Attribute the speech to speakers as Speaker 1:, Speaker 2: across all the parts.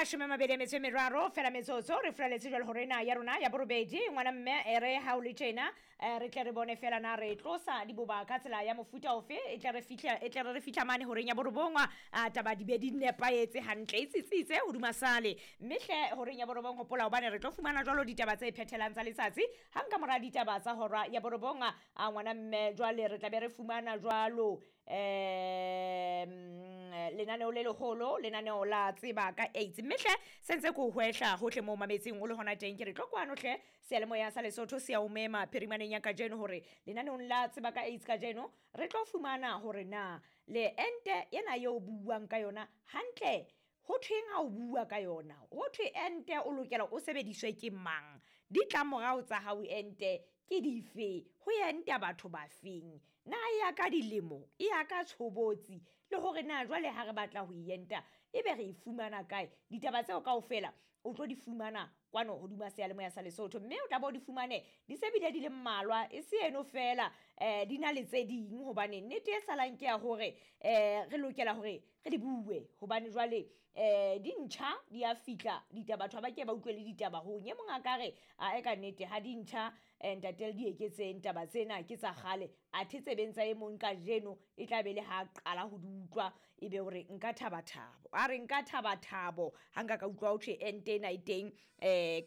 Speaker 1: 23 fela metsotso re furaletse jwale hore na ya rona ya borobedi ngwana mme e re ha o le tjena re tle re bone fela na re tlosa diboba ka tsela ya mofuta ofe e tle re fihla e tle re re fihla mane horeng ya borobongwa a taba di be di nepahetse hantle e tsitsitse hodima sale mme hle horeng ya borobong hopola hobane re tlo fumana jwalo ditaba tse phethelang tsa letsatsi hang ka mora ditaba tsa hora ya borobong a ngwana mme jwale re tla be re fumana jwalo lenaneo le leholo lenaneo la tseba ka AIDS mme hle sentse ko hwehla hohle moo mametseng o le hona teng ke re tlo kwano hle seyalemoya sa Lesotho se ya o mema phirimaneng ya kajeno hore lenaneong la tseba ka AIDS kajeno re tlo fumana hore na le ente ena eo buang ka yona hantle ho thweng ha o bua ka yona ho thwe ente o lokela o sebediswe ke mang ditlamorao tsa hao ente ke dife ho enta batho ba feng na e ya ka dilemo e ya ka tshobotsi le hore na jwale ha re batla ho e enta ebe re e fumana kae ditaba tseo kaofela o tlo di fumana kwano hodima seyalemoya sa Lesotho mme o tla bo di fumane di se bile di le mmalwa e se eno fela di na le tse ding hobane nnete e salang ke ya hore re lokela hore re di bue hobane jwale di ntjha di a fihla ditaba batho ha ba ke ba utlwe le ditaba hong e mong a ka re a e ka nnete ha di ntjha ntate le di eketseng taba tsena ke tsa kgale athe tsebeng tsa e mong kajeno e tla be le ha qala ho di utlwa e be hore nka thaba thabo a re nka thaba thabo ha nka ka utlwa ho thwe ente ena e teng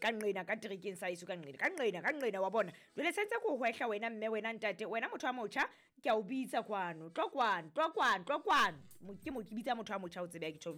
Speaker 1: ka nqena ka terekeng sa eso ka nqena ka nqena ka nqena wa bona jwale sentse ko hwehla wena mme wena ntate wena motho wa motjha ke a o bitsa kwano tlo kwano tlo kwano tlo kwano ke mo ke bitsa motho wa motjha o tsebe ya ke tjho.